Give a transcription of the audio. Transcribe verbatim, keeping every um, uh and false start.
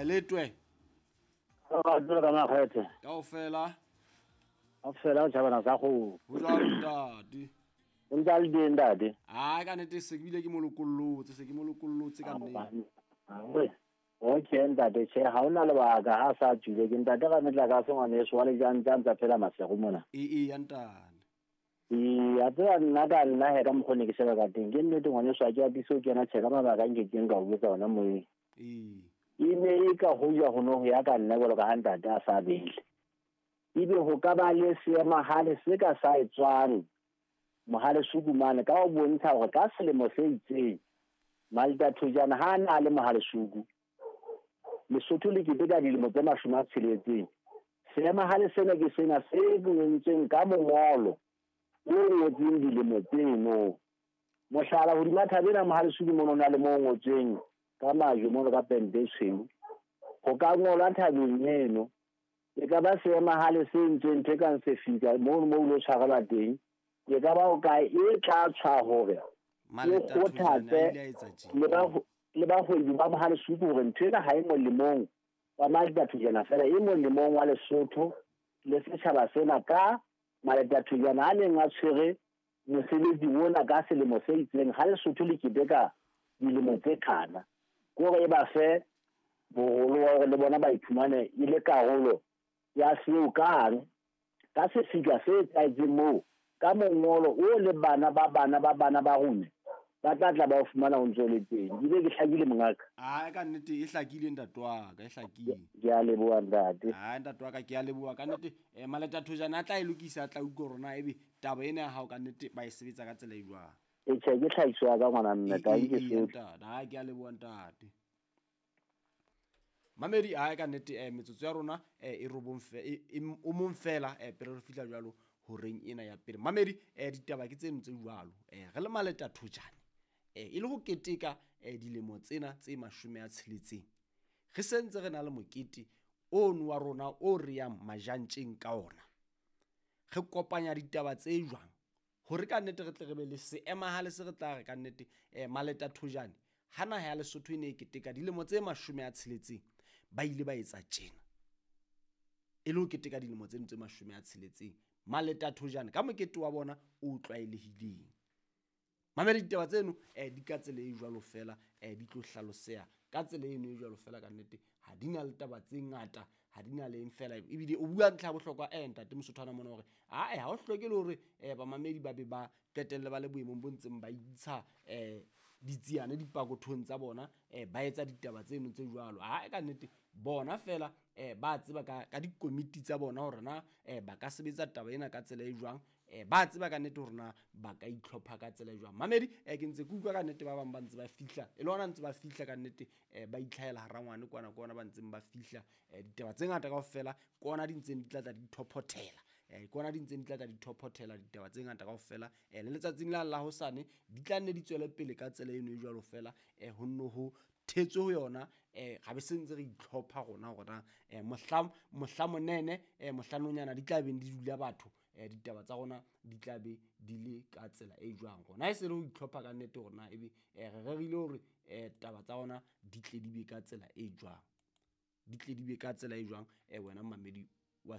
Letwe. Ka dula ka makgethe. Kaofela. Kaofela o tjhabana sa go. Ho jwalo ntate. O ntse a le teng ntate. Ai ka nnete se ke bile ke mo lokollotse, se ke mo lokollotse ka nnete. Okay ntate, tjhe ha hona lebaka ha sa tswile ke ntate ka metlakase ngwaneso wa lejantsa ntsa phela masego mona. E e ya ntate. E a tseba nna ka nna he ka mokgone ke sheba ka teng ke nnete ngwaneso a ke atise ho kena tjhe ka mabaka nke keng ka o botsa ona moyeng. E E ne e ka ho ja ho no ho ya ka nna jwalo ka ha ntate a sa bele. Ebe ho ka ba le seemahale se ka sa etswang Mohalesuku mane ka ho bontsha hore ka selemo se itseng Maleta Thojane ha na le Mohalesuku Lesotho le keteka dilemo tse mashome a tsheletseng. Seemahale sena ke sena se bontseng ka mongolo o ngotseng dilemo tseno. Mohlala hodima thabe ena Mohalesuku mono na le mo ngotseng ka majwe mono ka pente e tshweu. Ho ka ngolwa thabeng eno e ka ba seemahale se entsweng ntho e kang sefika mono mo o lo tshwarelwa teng. E ka ba o kae e tla tshwa hore e kgothatse le ba le bahwebi ba Mohalesuku hore ntho ena ha e molemong wa Maleta Thojane fela e molemong wa Lesotho le setjhaba sena ka Maleta Thojane a neng a tshwere mosebetsi ona ka selemo se itseng ha Lesotho le keteka dilemo tse kana. Ke hore e ba fe boholo wa hore le bona ba iphumane e le karolo ya seo kang ka sefika se etsahetseng moo ka mongolo o le bana ba bana ba bana ba rona ba tla tla ba o fumana o ntse o le teng. Ebile ke hlakile mongaka. Ai ka nnete e hlakile ntate wa ka, e hlakile. Ke a leboha ntate. Ai ntate wa ka ke a leboha ka nnete. Eh Maleta Thojane a tla e lokisa a tla utlwa hore na ebe taba ena ya hao ka nnete ba e sebetsa ka tsela e jwang. E tjhe ke tlhahiso ya ka ngwana mme ka ke se. Ntate, ai ke a leboha ntate. Mamedi ai ka nnete eh metsotso ya rona eh e robong fe o mong fela eh pele re fihla jwalo horeng ena ya pele. Mamedi eh ditaba ke tseno tse jwalo. Eh re le Maleta Thojane eh e le ho keteka eh dilemo tsena tse mashome a tsheletseng. Re sentse re na le mokete ono wa rona o re yang majantjeng ka ona. Re kopanya ditaba tse jwang hore ka nnete re tle re be le seemahale se re tla re ka nnete eh Maleta Thojane ha naha ya Lesotho e ne e keteka dilemo tse mashome a tsheletseng ba ile ba etsa tjena. E le ho keteka dilemo tseno tse mashome a tsheletseng Maleta Thojane ka mokete wa bona o tlwaelehileng. Mamedi ditaba tseno eh di ka tsela e jwalo fela eh di tlo hlaloseha ka tsela eno e jwalo fela ka nnete ha di na le taba tse ngata ha di na le eng fela ebile o bua ntlha ya bohlokwa eh ntate Mosothwana mona hore ae ha o hloke le hore eh bamamedi ba be ba qetelle ba le boemong bo ntseng ba intsha eh ditsiane dipakothong tsa bona eh ba etsa ditaba tseno tse jwalo. Ae ka nnete bona fela eh ba tseba ka ka dikomiti tsa bona hore na eh ba ka sebetsa taba ena ka tsela e jwang eh ba tseba ka nnete hore na ba ka itlhopha ka tsela e jwang. Mamedi eh ke ntse ke utlwa ka nnete ba bang ba ntse ba fihla e le hona ntse ba fihla ka nnete eh ba itlhahela hara ngwane kwana kwana ba ntseng ba fihla eh ditaba tse ngata kaofela kona di ntseng di tla tla di thophothela eh kona di ntseng di tla tla di thophothela ditaba tse ngata kaofela eh le letsatsing la la hosane di tla nne di tswele pele ka tsela eno e jwalo fela eh ho nno ho thetswe ho yona eh ga be sentse re itlhopha rona hore eh mohla mohla monene eh mohlanonyana di tla beng di dula batho eh ditaba tsa rona di tla be di le ka tsela e jwang rona e se re ho itlhopha ka nnete rona ebe eh re rerile hore eh taba tsa rona di tle di be ka tsela e jwang di tle di be ka tsela e jwang eh wena mamedi